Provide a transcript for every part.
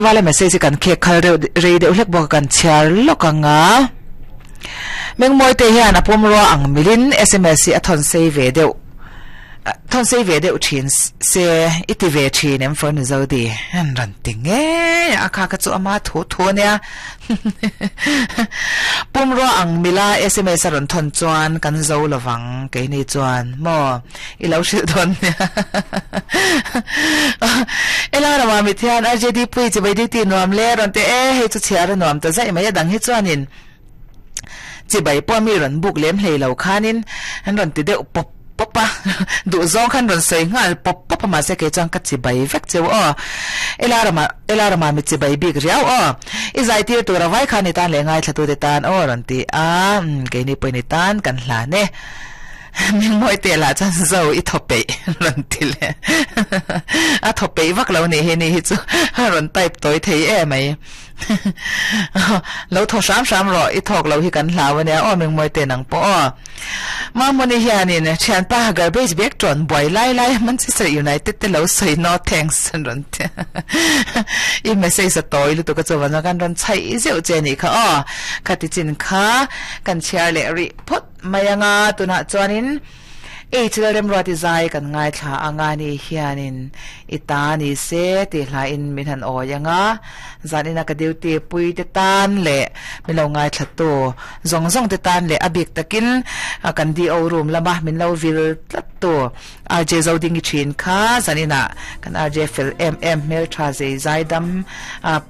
Vala message hi kan khek khal reuh rei deuh hlek bawk a kan chhiar lawk ang a. Mengmawite hian a pumrua ang milin sms hi a thawn sei ve deuh thawn sei ve deuh thin se i ti ve thin em for Mizo di an rawn ti ngei a a kha kha chu ama thu thu ania pumrua ang mila sms a rawn thawn chuan kan zo lovang keini chuan maw. I lo hrilh dawn nia. Ela ramah mit hian RJD pui chibai duty nuam le rawn ti e, hei chu chhiar a nuam ta zaih mai a dang hi chuanin chibai pawh mi rawn buk lem hlei lo khanin an rawn ti deuh pawp pawp a, duh zawng khan rawn sawi nghal pawp pawp a mahse kei chuan ka chibai vek cheu aw. Ela ramah Ela ramah mit chibai bik riau aw. I zai tir tur a vai khan i tan leh ngaithlatute tan aw rawn ti a, keini pawhin i tan kan hlan e. Mingmawi teh lah chuan zo i thaw peih rawn ti leh a thaw peih vak lo nih hi ni hi chu a rawn type tawi thei em mai lo thaw hram hram rawh i thawk lo hi kan hlau ania aw Mingmawi teh nang pawh aw Mamuni hianin thianpa garbage bag tawn buai lai lai Manchester United te lo sawi no thanks an rawn ti i message a tawi lutuk a chuan kan rawn chhaih zeuh che nih kha aw khati chin kha kan chhiar leh rih phawt Mai anga tunah chuanin H Lalremruati zai kan ngaithla anga ni hianin i ta ni se tih hlain min han awi anga zanina ka duty pui te tan leh min lo ngaithlatu zawng zawng te tan leh a bik takin kan DO room lama min lo vil tlat tu RJ Zodingi thin kha zaninah kan RJ fel em em hmeltha zei zaidam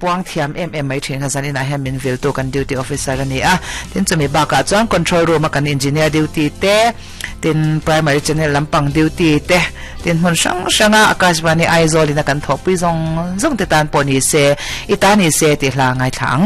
puang thiam em em mai thin kha zaninah hian min viltu kan duty officer a ni a. Tin chumi bakah chuan control room a kan engineer duty te, tin primary channel lampang duty te, tin hmun hrang hranga Akashvani Aizawl in a kan thawhpui zawng zawng te tan pawh ni se, i ta ni se tih hla a ngaithla ang.